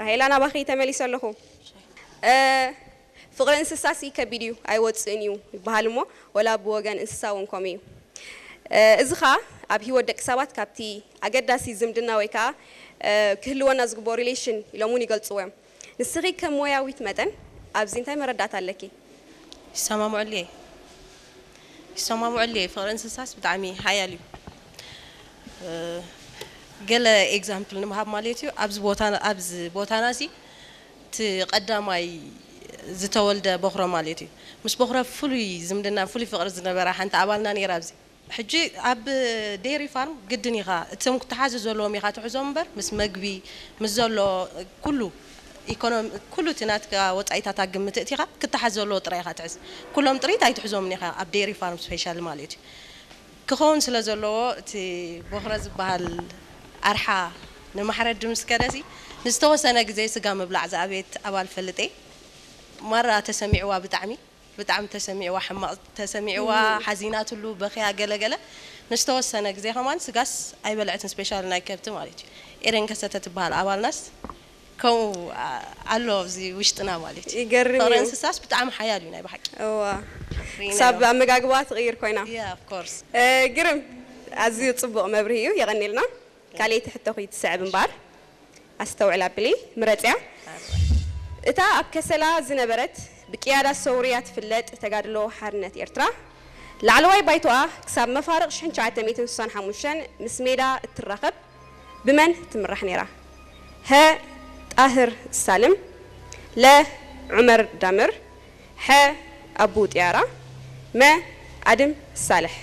ራሄላ፣ ናባኺ ተመሊሰ ኣለኹ። እ፣ ፍቕሪ እንስሳሲ ከቢድ እዩ፣ ኣይወፅእን እዩ ይበሃል እሞ፣ ወላ ብወገን እንስሳ እውን ከምኡ እዩ። እ፣ እዚ ኸኣ ኣብ ህይወት ደቂ ሰባት ካብቲ ኣገዳሲ ዝምድና ወይ ከዓ፣ እ፣ ክህልወና ዝግብኦ ሪሌሽን ኢሎም እውን ይገልፅዎ እዮም። ንስኺ ከም ሞያዊት መጠን ኣብዚ እንታይ መረዳእታ ኣለኪ? ይሰማምዐሉ እየ። ይሰማምዐሉ እየ። ፍቕሪ እንስሳስ ብጣዕሚ ሓያል እዩ። እ፣ ገለ ኤግዛምፕል ንምሃብ ማለት እዩ። ኣብዚ ቦታ፣ ኣብዚ ቦታና እዚ እቲ ቀዳማይ ዝተወልደ በኹረ ማለት እዩ። ምስ በኹረ ፍሉይ ዝምድና፣ ፍሉይ ፍቕሪ ዝነበራ ሓንቲ ኣባልና ነይራ ኣብዚ። ሕጂ ኣብ ዴሪ ፋርም ግድን ኢኻ፣ እቶም ክትሓዙ ዘለዎም ኢኻ ትሕዞም እምበር፣ ምስ መግቢ፣ ምስ ዘሎ ኩሉ ኢኮኖሚ፣ ኩሉ እቲ ናትካ ወጻኢታት ኣብ ግምት እቲኻ ክትሓዝ ዘለዎ ጥራይ ኢኻ ትሕዝ። ኩሎም ጥሪት ኣይትሕዞምን ኢኻ ኣብ ዴሪ ፋርም ስፔሻል ማለት እዩ። ክኸውን ስለ ዘለዎ እቲ ቦኽረ ዝበሃል ኣርሓ ንማሕረድ ምስ ከደሲ ንዝተወሰነ ግዜ ስጋ ምብላዕ ዝኣበየት ኣባል ፈልጥ እየ። ማራ ተሰሚዕዋ ብጣዕሚ፣ ብጣዕሚ ተሰሚዕዋ፣ ሕማቕ ተሰሚዕዋ፣ ሓዚናትሉ፣ በኽያ ገለገለ። ንዝተወሰነ ግዜ ከማን ስጋስ ኣይበልዐትን፣ ስፔሻል ናይ ከብቲ ማለት እዩ። ኤደን ከሰተ ትበሃል ኣባልናስ ከምኡ፣ ኣ-፣ ኣሎ ኣብዚ ውሽጥና ማለት እዩ። ይገርም ፍቕሪ እዩ። እንስሳስ ብጣዕሚ ሓያል እዩ ናይ ብሓቂ። እዋ። ሪና ክሳብ እዮም። ኣመጋግባ ትቕይር ኮይና። Yeah, of course። እ፣ ግርም፣ ኣዝዩ ጽቡቕ መብርሂ እዩ፣ የቐኔልና። ካልኣይቲ ሕቶኺ ትስዕብ እምበኣር፣ ኣስተውዕል ኣብሊ፣ ምረጽያ። እታ ኣብ ከሰላ ዝነበረት ብቅያዳ ሰውርያ ትፍለጥ ተጋድሎ ሓርነት ኤርትራ፣ ላዕለዋይ ባይቶኣ ክሳብ መፋርቕ ሽሕን ትሽዓተ ሚእትን ስሳን ሓሙሽተን ምስ ሜዳ እትራኸብ ብመን ትምራሕ ነይራ? ሀ፣ ጣህር ሳልም፣ ለ፣ ዑመር ዳምር፣ ሐ፣ ኣቡ ጥያራ፣ መ፣ ኣድም ሳልሕ።